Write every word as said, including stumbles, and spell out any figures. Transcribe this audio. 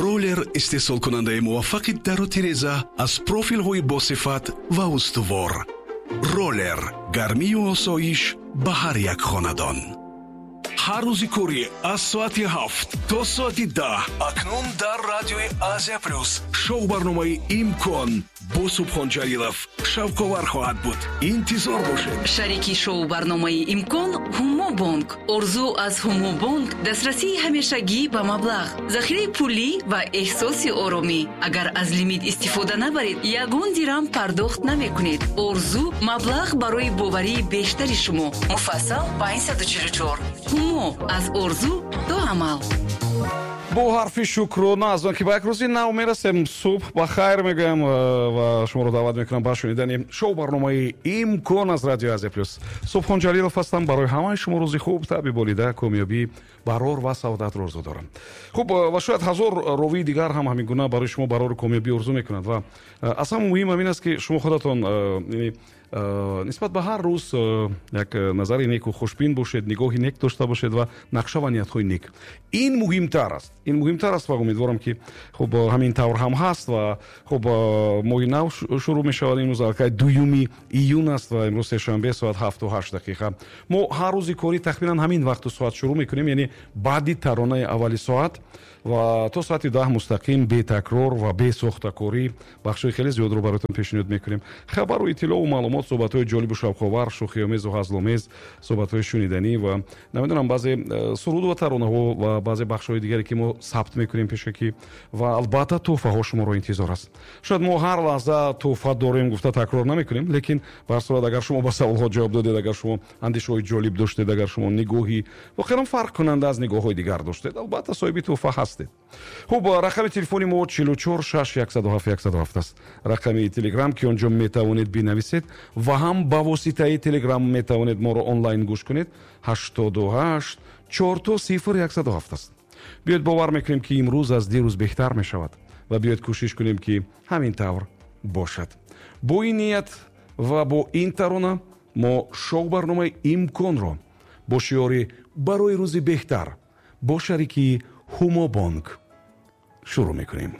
Роллер истеҳсолкунандаи муваффақи дару тиреза аз профилҳои босифат ва устувор. Роллер гармию осоиш ба ҳар як хонадон. Ҳар рӯзи корӣ аз соати ҳафт то соати даҳ акнун дар радиои Азия Плюс шоу барномаи «Имкон» бо Субҳон Ҷалилов шавқовар хоҳад буд. Интизор бошед. Шарики шоу барномаи «Имкон» Ҳумобонк. Орзу аз Ҳумобонк дастрасии ҳамешагӣ ба маблағ, захираи пулӣ ва эҳсоси оромӣ. Агар аз лимит истифода набаред, ягон дирам пардохт намекунед. Орзу маблағ барои боварии бештари шумо. Муфассал панҷсаду чилу чор. Ҳумо аз орзу то амал. Бо ҳарфи шукрона аз он ки ба як рӯзи нав мерасем, субҳ ба хайр мегӯям э, ва шуморо даъват мекунам ба шунидани шоу барномаи «Имкон» аз радиои Азия Плюс. Субҳон Ҷалилов ҳастам. Барои ҳамаи шумо рӯзи хуб, таби болида, комёбӣ, барор ва саодатро орзу дорам. Хуб, э, ва шояд ҳазор ровии дигар ҳам ҳамин гуна барои шумо барору комёбӣ орзу мекунад. Ва э, аз ҳама муҳим ҳамин аст, ки шумо худатон нисбат ба ҳар рӯз як назари неку хушбин бошед, нигоҳи нек дошта бошед ва нақша ва ниятҳои нек. Ин муҳимтар аст, ин муҳимтар аст ва умедворам, ки хуб, ҳамин тавр ҳам ҳаст. Ва хуб, моҳи нав шурӯъ мешавад. Имрӯз аллакай дуюми июн аст ва имрӯз сешанбе, соат ҳафту ҳашт дақиқа. Мо ҳар рӯзи корӣ тахминан ҳамин вақту соат шурӯъ мекунем, яъне баъди таронаи аввали соат ва то соати даҳ мустақим, бетакрор ва бесохтакорӣ бахшҳои хеле зиёдро бароятон пешниҳод мекунем: хабару иттилоу маълумот, суҳбатҳои ҷолибу шавқовар, шӯхиомезу ҳазломез, суҳбатҳои шуниданӣ ва намедонам, баъзе э, суруду ва таронаҳо ва баъзе бахшҳои дигаре, ки мо сабт мекунем пешакӣ. Ва албатта, тӯҳфаҳо шуморо интизор аст. Шояд мо ҳар лаҳза тӯҳфа дорем гуфта такрор намекунем, лекин ба ҳар сурат, агар шумо ба саволҳо ҷавоб додед, агар шумо андешаҳои ҷолиб доштед, агар шумо нигоҳи воқеан фарқкунанда аз нигоҳҳои дигар доштед, албатта, соҳиби тӯҳфа ҳастед. Хуб, рақами телефони мо чилу чор шаш яксаду ҳафт яксаду ҳафт аст. Рақами Телеграм, ки он ҷо метавонед бинависед ва ҳам ба воситаи Телеграм метавонед моро онлайн гӯш кунед, ҳаштоду ҳашт чорто сифр яксаду ҳафт аст. Биёед бовар мекунем, ки имрӯз аз дирӯз беҳтар мешавад, ва биёед кӯшиш кунем, ки ҳамин тавр бошад. Бо ин ният ва бо ин тарона мо шоу барномаи «Имконро» бо шиори «Барои рӯзи беҳтар» бо шарикии Ҳумобонк шурӯъ мекунем.